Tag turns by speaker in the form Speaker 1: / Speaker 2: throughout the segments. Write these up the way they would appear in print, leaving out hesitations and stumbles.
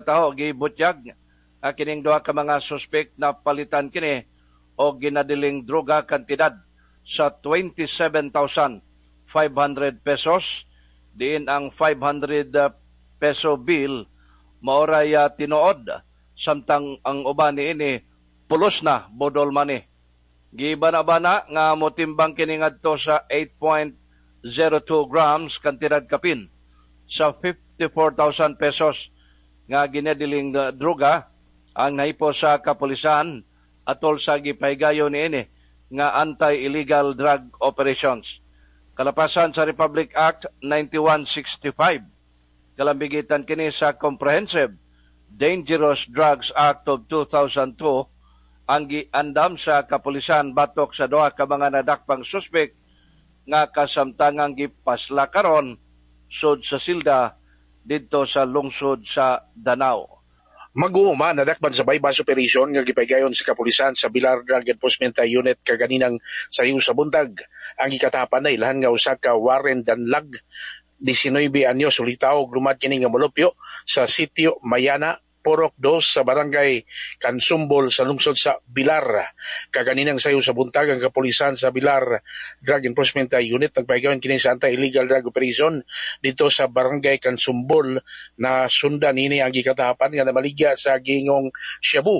Speaker 1: nataho, gibutyag nga kining duha ka mga suspect na palitan kini og ginadiling droga kantidad sa 27,500 pesos, diin ang 500 peso bill maoray tinuod, samtang ang uban niini pulos na budol money. Gibana-bana nga motimbang kini ngadto sa 8.02 grams, kantidad kapin sa 54,000 pesos nga ginadiling droga ang nahipo sa kapulisan atol sa gipahigayon niini nga anti-illegal drug operations. Kalapasan sa Republic Act 9165, kalambigitan kini sa Comprehensive Dangerous Drugs Act of 2002, ang giandam sa kapulisan batok sa duha ka mga nadakpang suspek nga kasamtangang gipasla karon sud sa silda didto sa lungsod sa Danao.
Speaker 2: Mag-uuma, nadakpan sa buy-bust operation nga gipahigayon sa kapulisan sa Bilar Drug Enforcement Unit kaganinang sayo sa buntag. Ang gikatapan na ilhan nga usa ka Warren Danlag, 19 anyos, ulitaw, lumad kini nga molupyo sa sitio Mayana, Purok 2 sa Barangay Kansumbol sa lungsod sa Bilar. Kaganinang sayo sa buntag, ang kapulisan sa Bilar Drug Enforcement Unit nagpahigayon kini sa anti-illegal drug operation dito sa Barangay Kansumbol, na sundan nini ang gikatapan nga namaligya sa gingong shabu.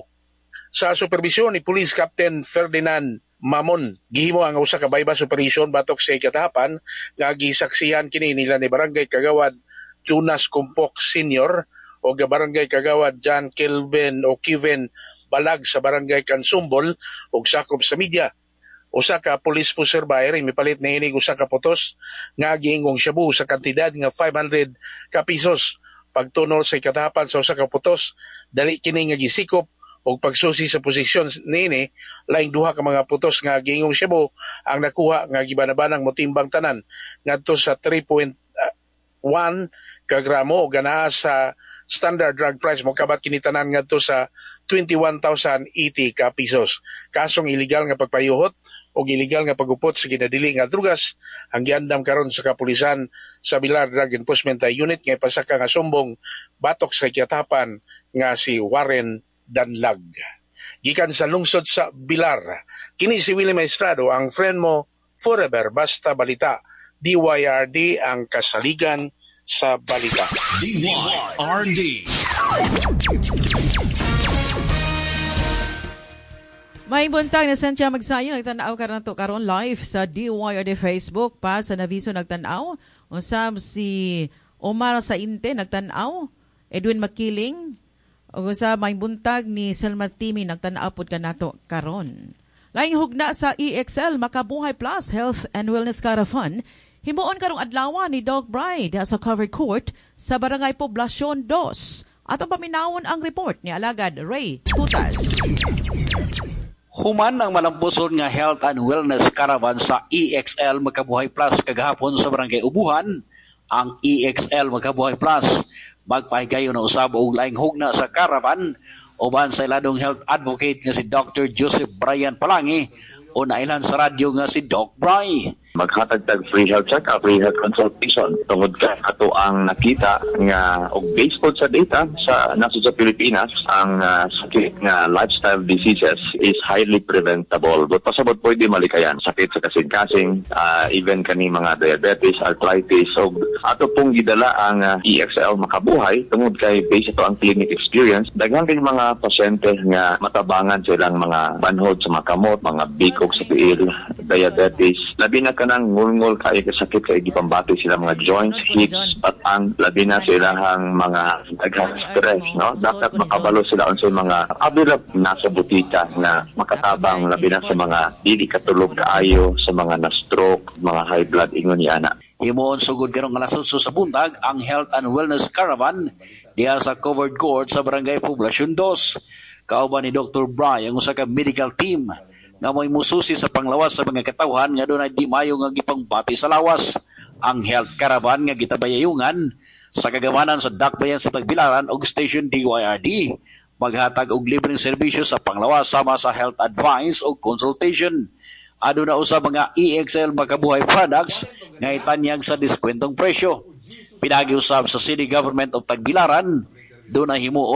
Speaker 2: Sa supervisyon ni Police Captain Ferdinand Mamon, gihimo ang usa ka buy-bust operation batok sa ikatahapan nga gisaksihan kini nila ni Barangay Kagawad Jonas Kumpok Sr. o Barangay Kagawad John Kelvin o Kevin Balag sa Barangay Kansumbol ug sakop sa media. Usa ka police poseur buyer mipalit niini usa ka putos nga giingong shabu sa kantidad nga 500 ka pesos. Pagtunol sa ikatahapan sa usa ka putos, dali kini nga gisikop og pagsusi sa posisyon niini, laing duha ka mga putos nga giingong shabu ang nakuha nga gibanabanang motimbang tanan ngadto sa 3.1 ka gramo ug anaa sa standard drug price mokabat kini tanan ngadto sa 21,080 ka pesos. Kasong illegal nga pagpayuhot o illegal nga pagupot sa ginadili nga drugas ang giandam karon sa kapulisan sa Bilar Drug Enforcement Unit nga ipasaka nga sumbong batok sa ikatapan nga si Warren Danlag. Gikan sa lungsod sa Bilar, kini si Willie Maestrado, ang friend mo forever basta balita. DYRD, ang kasaligan sa balita.
Speaker 3: DYRD.
Speaker 4: May buntag na Cynthia Magsayo, nagtanaw ka na to karon live sa DYRD Facebook pa sa Naviso nagtanaw. Usab si Omar Sainte nagtanaw, Edwin Makiling, ug usab may buntag ni Selma Timi, nagtanaw pod kanato karon. Laing hugna sa EXL Makabuhay Plus Health and Wellness Caravan himuon karong adlaw ni Doc Bride sa covered court sa Barangay Poblacion 2. Atong paminawon ang report ni Alagad Ray Tutas.
Speaker 5: Human ang malampuson nga Health and Wellness Caravan sa EXL Makabuhay Plus kagahapon sa Barangay Ubuhan, ang EXL Makabuhay Plus magpahigayon na usab og laing hugna sa caravan uban sa iladong health advocate nga si Dr. Joseph Brian Palangi o nailan sa radyo nga si Doc Bry.
Speaker 6: Maghatag tag free health check-up, free health consultation tungod kay ato ang nakita nga og based pod sa data sa nasod sa Pilipinas, ang sakit nga lifestyle diseases is highly preventable. But pasabot pwede malikayan sakit sa kasing-kasing, even kani mga diabetes, arthritis. So ato pong gidala ang EXL Makabuhay tungod kay based ato ang clinic experience, daghan kay mga pasyente nga matabangan silang mga banhod sa mga kamot, mga bikog sa tiil, diabetes, labi na kanang ngulngul kay kasakit kay gipambati sila mga joints, hips, patang, labi na silahang mga daghang stress, no? Dapat makabalo sila unsay mga available nasa butika nga makatabang, labi na sa mga dili katulog kaayo, sa mga na-stroke, mga high blood, ingon ni ana.
Speaker 5: Himuon sugod karong alas 8 sa buntag ang Health and Wellness Caravan diha sa covered court sa Barangay Poblacion 2. Kauban ni Dr. Bry ang usa ka medical team nga mo'y mususi sa panglawas sa mga katawhan nga dunay di mayo nga gipangbati sa lawas. Ang health caravan nga gitabayayungan sa kagamanan sa Dakbayan sa Tagbilaran og Station DYRD maghatag og libreng serbisyo sa panglawas sama sa health advice o consultation. Aduna usab mga EXL Makabuhay products nga itanyag sa diskwentong presyo. Pinagi usab sa City Government of Tagbilaran, dunay himuon